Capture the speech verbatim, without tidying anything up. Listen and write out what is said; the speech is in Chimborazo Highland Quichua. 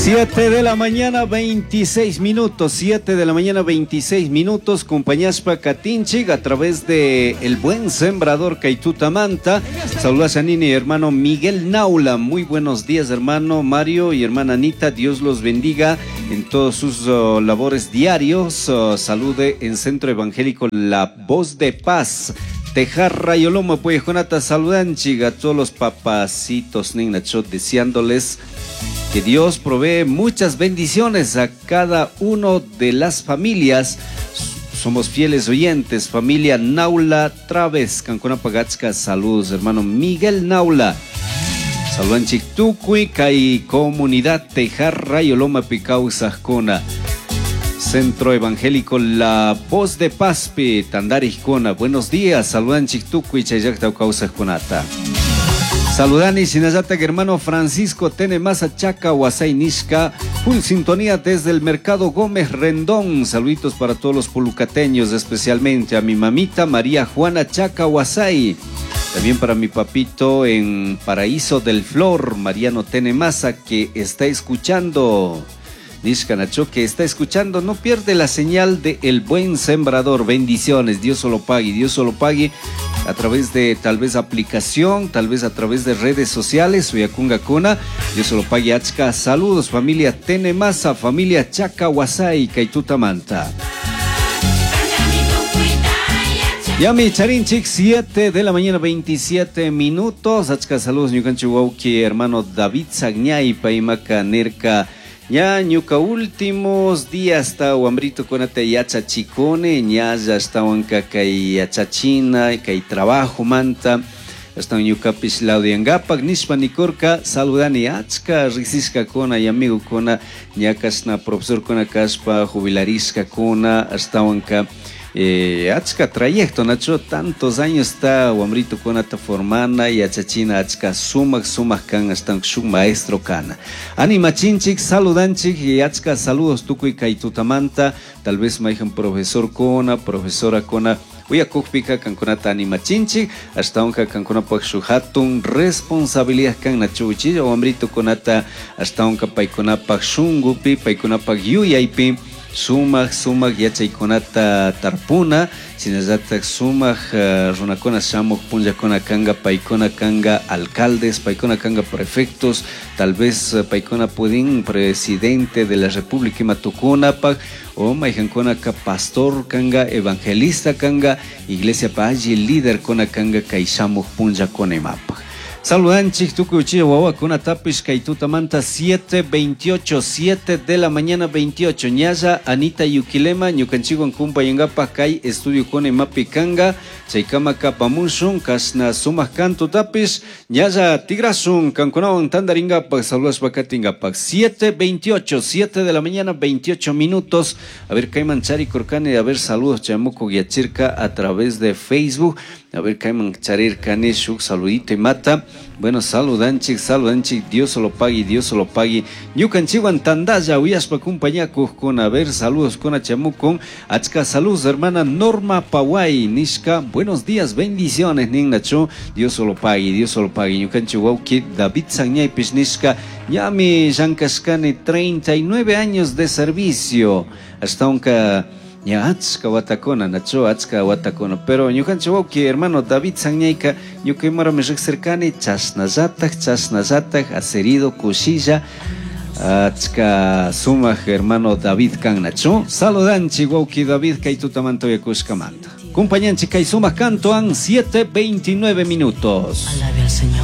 Siete de la mañana, veintiséis minutos. Siete de la mañana, veintiséis minutos. Compañaspa katinchik a través de El Buen Sembrador Kaituta Manta. Saludos a Nini, hermano Miguel Naula. Muy buenos días, hermano Mario y hermana Anita. Dios los bendiga en todos sus uh, labores diarios. Uh, salude en Centro Evangélico La Voz de Paz. Tejar Rayolomo, pues Jonata saludanchik a todos los papacitos, Ninacho, deseándoles que Dios provee muchas bendiciones a cada uno de las familias. Somos fieles oyentes, familia Naula Traves, Cancuna Pagachka, saludos, hermano Miguel Naula. Saludanchik tukuy, kay comunidad Tejar Rayoloma Picausajcona. Centro Evangélico La Voz de Pazpi, Tandarijcona. Buenos días, saludanchik tukuy, chayllakta kawsajkunata. Saludani, Sinayata, hermano Francisco Tene Masa Chaca, Huasay Nishka, full sintonía desde el Mercado Gómez Rendón. Saluditos para todos los pulucateños, especialmente a mi mamita María Juana Chaca Huasay. También para mi papito en Paraíso del Flor, Mariano Tene Masa, que está escuchando. Nishka Nacho, que está escuchando, no pierde la señal de El Buen Sembrador. Bendiciones, Dios solo pague, Dios solo pague a través de tal vez aplicación, tal vez a través de redes sociales. Uyakunga Kuna, Dios solo pague achka. Saludos, familia Tenemasa, familia Chaca Huasay, Kaituta Manta. Yami Charinchik, siete de la mañana, veintisiete minutos. Achka saludos, ñukanchik wawki, hermano David Sagñay, Paimaka Nerka. Ya ñuka últimos días ta wambrito kunata yachachikuni, ñalla ashtawanka kay yachachina, kay trabajo manta, ashtawan ñukapish laudiangapak nishpa nikurka, saludani achka riksishkakuna y amigokuna, ña kashna profesorkuna kashpa jubilarishkakuna, ashtawanka Eh, achka trayecto, Nacho, tantos años está wambrito kunata formana yachachina achka sumak sumak kan hasta shuk maestro kana. Animachinchik, saludanchik y achka saludos tukuy kaytutamanta, tal vez maijan profesor kona, profesora kona, uyakukpika kankunata animachinchik, hasta onka kankunapaq shuk hatun responsabilidad kan Nacho uchilla wambrito kunata hasta onka paykunapaq shunkupi, paykunapaq yuyaypi. Sumak, sumak yachaykunata tarpuna, shinallatak sumak uh, runakuna shamuk punllakuna kanga, paykuna kanga alcaldes, paykuna kanga prefectos, tal vez uh, paykuna pudin presidente de la República ima tukunapak, o mayjankuna ka pastor kanga, evangelista kanga, iglesia pa alli líder kuna kanga kay shamuk punllakuna imapak. Saludanchik tukuy uchilla wawakunatapish kay tutamanta siete veintiocho, siete de la mañana veintiocho. Ñalla Anita Yuquilema, ñukanchikwan kumpayangapak kay estudio kuna imapi kanga, chaykama kapamushun, kashna sumak kantu tapish, ñalla tigrasun, kankunawan tandaringapak, saludashpa katingapak. siete veintiocho, siete de la mañana veintiocho minutos. A ver, kayman charikurkani, a ver, saludos chamuku yachirka a través de Facebook. A ver, kayman charirkani, shuk saludito y mata. Bueno, saludanchik, saludanchik, Dios se lo pague, Dios se lo pague. Ñukanchikwan tandalla, uyashpa kumpañakuqkuna, a ver, saludos con achamucon. Achka saludos, hermana Norma Pawai, Nishka, buenos días, bendiciones, Ninnacho, Dios se lo pague, Dios se lo pague. Ñukanchik wawki, David Sagñaypish, Nishka, ñami llankashkani, treinta y nueve años de servicio. Hasta unka ña achka watakuna, Nacho, achka watakuna. Pero ñukanchik wawki, hermano David Sagñayka, ñuka imarami riqsirkani, chashnallatak, chashnallatak, acerido, kushilla, achka sumak hermano David kan, Nacho. Saludanchik wawki David, kay tutamanta uyakushkamanta. Kumpañanchik kay sumak kantoan, siete veintinueve minutos. Alabe al Señor.